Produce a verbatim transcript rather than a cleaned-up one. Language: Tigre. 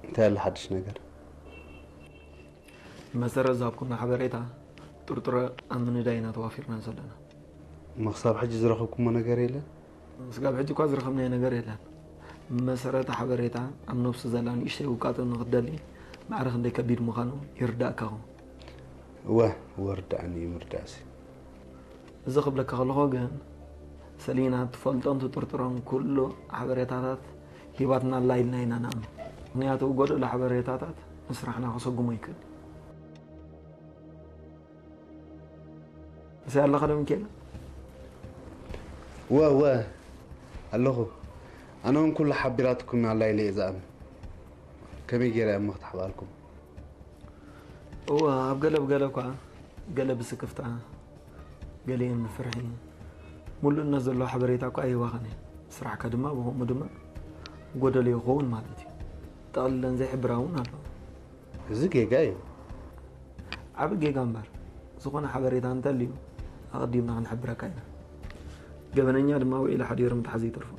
እንታይ አለ ሓድሽ ነገር? መሰረት ዛብኩና ሓበሬታ ጥርጥረ አምንዳይና ተዋፊርና ሰለና። መክሳብ ሕጂ ዝረኸብኩሞ ነገር የለን? ስጋብ ሕጂ እኳ ዝረኸብናዮ ነገር የለን። መሰረት ሓበሬታ ኣብ ነብሱ ዘላ ንእሽተይ ውቃጦ ንክትደሊ ማዕረ ክንደይ ከቢድ ምዃኑ ይርዳእካኹ። እወ፣ እወ፣ ርዳእኒ እዩ፣ ምርዳእሲ። እዚ ክብለካ ከለኹ ግን፣ ሰሊና ትፈልጦን ትጥርጥሮን ኩሉ ሓበሬታታት ሂባትና ኣላ ኢልና ኢና ንኣምን። ምኽንያቱ፣ ጎደሎ ሓበሬታታት ንስራሕና ከሰጉሞ ይክእል። እሰይ ኣለኻ ዶ ሚካኤል? ወ፣ ወ፣ ኣለኹ። ኣነ እውን ኩሉ ሓቢራትኩም ኣላ ኢለ እየ ዝኣምን። ከመይ ገይረ እየ እሞ ክትሓብኣልኩም? እወ፣ ኣብ ገለ ብገለ እኳ፣ ገለ ብስክፍታ፣ ገሊኤን ብፍርሒ፣ ምሉእነት ዘለዎ ሓበሬታ እኳ ኣይህባኻን እየ። ስራሕካ ድማ ብኸምኡ ድማ ጎደሎ ይኸውን ማለት እዩ። ጠቕሊለን ዘይሕብራ እውን ኣለዋ። እዚ ጌጋ እዩ። ዓቢ ጌጋ እምበር፣ ዝኾነ ሓበሬታ እንተልዩ ኣቐዲምና ክንሕብረካ ኢና። ገበነኛ ድማ ውዒሉ ሓዲሩ ምትሓዙ ይተርፎ።